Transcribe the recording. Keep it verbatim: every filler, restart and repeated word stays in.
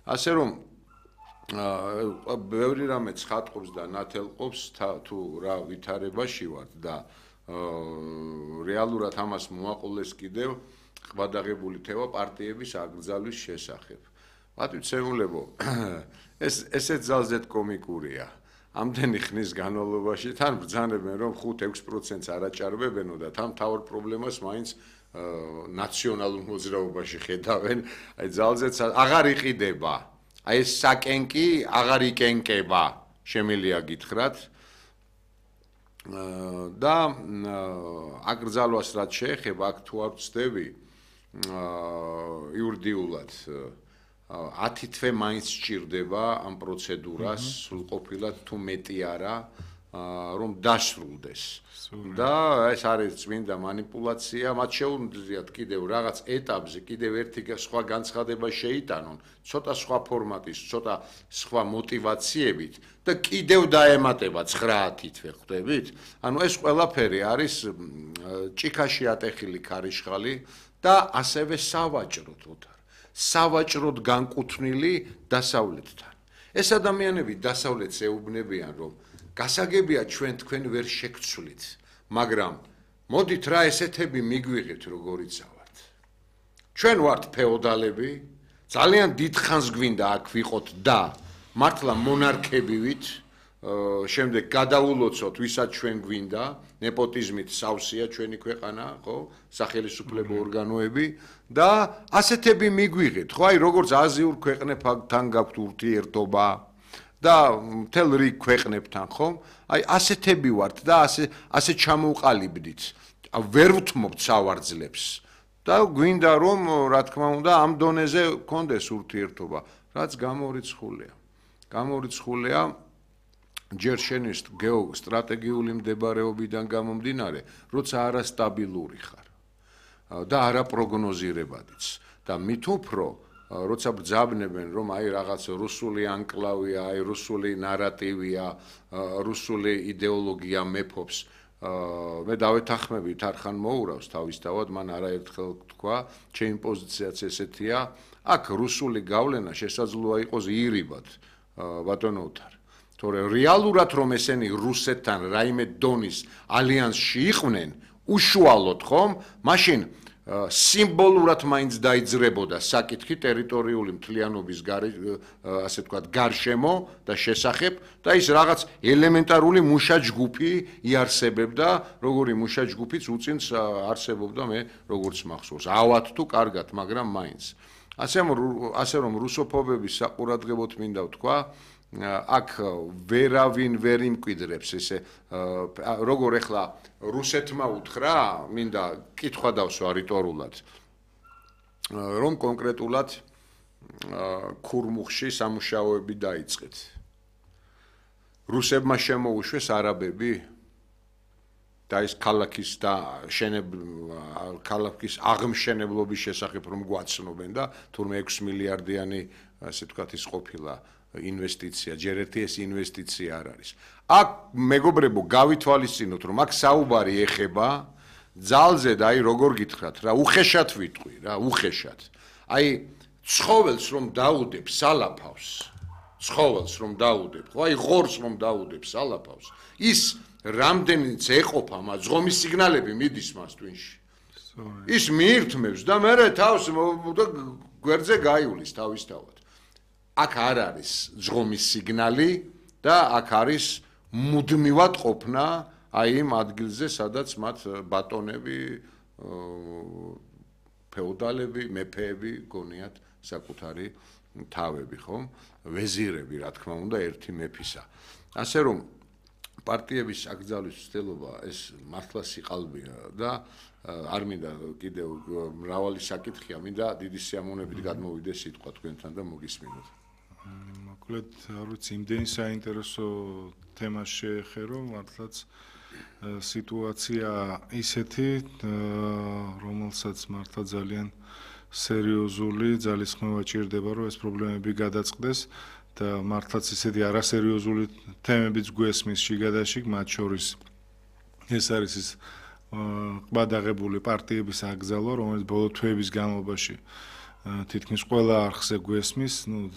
ასე რომ ბევრი რამე ცხადყოფს და ნათელყოფს თუ რა ვითარებაში ვართ და რეალურად ამას მოაყოლეს კიდევ ხვადაღებული თემა პარტიების აკრძალვის შესახებ. მათვიცემულებო, ეს ესეც ძალზედ კომიკურია. ამდენი ხნის განმავლობაში თან ბრძანებენ რომ ხუთ ექვს პროცენტს არ აჭარბებენო და თან მთავარ პრობლემას მაინც ნაციონალურ მოძრაობაში ხედავენ. აი ძალზედ აღარ იყიდება. აი ეს საკენკი აღარ იკენკება, შემიძლია გითხრათ. და აკრძალვას რაც შეეხება, აქ თუ არ ვცდები იურიდიულად ათი თვე მაინც სჭირდება ამ პროცედურას სრულყოფილად თუ მეტი არა რომ დასრულდეს. და ეს არის წმინდა მანიპულაცია, მათ შეუძლიათ კიდევ რაღაც ეტაპზე კიდევ ერთი სხვა განცხადება შეიტანონ, ცოტა სხვა ფორმატის, ცოტა სხვა მოტივაციებით და კიდევ დაემატება ცხრაათი თვე, ხვდებით? ანუ ეს ყველაფერი არის ჭიქაში ატეხილი ქარიშხალი და ასევე სავაჭროდ ოთარ. სავაჭროდ განკუთვნილი დასავლეთთან. ეს ადამიანები დასავლეთს ეუბნებიან, რომ გასაგებია ჩვენ თქვენ ვერ შეგცვლით, მაგრამ მოდით რა ესეთები მიგვიღეთ როგორიც ავართ. ჩვენ ვართ ფეოდალები, ძალიან დიდხანს გვინდა აქ ვიყოთ და მართლა მონარქები ვით, შემდეგ გადაულოცოთ ვისაც ჩვენ გვინდა, ნეპოტიზმით სავსეა ჩვენი ქვეყანა, ხო? სახელისუფლებო ორგანოები და ასეთები მიგვიღეთ, ხო? აი როგორც აზიურ ქვეყნებთან გაქვთ ურთიერთობა და მთელ რიგ ქვეყნებთან, ხო? აი ასეთები ვართ და ასე ასე ჩამოვყალიბდით. ვერ ვთმობთ სავარძლებს და გვინდა რომ რა თქმა უნდა ამ დონეზე გქონდეს ურთიერთობა, რაც გამორიცხულია. გამორიცხულია ჯერ შენი გეოსტრატეგიული მდებარეობიდან გამომდინარე, როცა არასტაბილური ხარ და არაპროგნოზირებადიც და მით უფრო როცა ბრძანებენ რომ აი რაღაც რუსული ანკლავია, აი რუსული ნარატივია, რუსული იდეოლოგია მეფობს, მე დავეთანხმებით არხან მოურავს თავისთავად, მან არაერთხელ თქვა, ჩემი პოზიციაც ესეთია, აქ რუსული გავლენა შესაძლოა იყოს ირიბად, ბატონო ოთარ. თორე რეალურად რომ ესენი რუსეთთან რაიმე დონის ალიანსში იყვნენ, უშუალოდ ხომ, მაშინ სიმბოლურად მაინც დაიძრებოდა საკითხი ტერიტორიული მთლიანობის ასე ვთქვათ გარშემო და შესახებ და ის რაღაც ელემენტარული მუშაჯგუფი იარსებებდა, როგორი მუშაჯგუფიც უწინს არსებობდა მე როგორც მახსოვს. ავად თუ კარგად, მაგრამ მაინც. ასე ასე რომ რუსოფობების საყურადღებოდ მინდა ვთქვა, აქ ვერავინ ვერ იმკვიდრებს ესე როგორ ეხლა რუსეთმა უთხრა, მინდა კითხვა დავსვა რიტორულად, რომ კონკრეტულად ქურმუხში სამუშაოები დაიწყეთ. რუსებმა შემოუშვეს არაბები და ის ქალაქის და ქალაქის აღმშენებლობის შესახებ რომ გვაცნობენ და თურმე ექვს მილიარდიანი ასე ვთქვათ ის ყოფილა ინვესტიცია, ჯერ ერთი ეს ინვესტიცია არ არის. აქ მეგობრებო გავითვალისწინოთ, რომ აქ საუბარი ეხება ძალზე და აი როგორ გითხრათ რა, უხეშად ვიტყვი რა, უხეშად. აი ცხოველს რომ დაუდებ სალაფავს, ცხოველს რომ დაუდებ, ხო, აი ღორს რომ დაუდებ სალაფავს, ის რამდენიც ეყოფა მას ზღომის სიგნალები მიდის მას twin-ში. ის მიირთმევს და მე თავს და გვერდზე გაივლის თავისთავად. აქ არ არის ზღომის სიგნალი და აქ არის მუდმივად ყოფნა აი იმ ადგილზე, სადაც მათ ბატონები, ფეოდალები, მეფეები გონიათ საკუთარი თავები, ხო? ვეზირები, რა თქმა უნდა, ერთი მეფისა. ასე რომ პარტიების აკრძალვის ცდილობა ეს მართლა სიყალბეა და არ მინდა კიდევ მრავალი საკითხია, მინდა დიდი სიამოვნებით გადმოვიდე სიტყვა თქვენთან და მოგისმინოთ. მოკლედ, არ ვიცი, იმდენი საინტერესო თემას შეეხერო, მართლაც სიტუაცია ისეთი, რომელსაც მართლა ძალიან სერიოზული ძალისხმევა ჭირდება, რომ ეს პრობლემები გადაწყდეს და მართლაც ისეთი არასერიოზული თემებიც გვესმის შიგადაშიგ, მათ შორის ეს არის ის ყბადაღებული პარტიების აკრძალვა, რომელიც ბოლო თვეების განმავლობაში თითქმის ყველა არხზე გვესმის, ну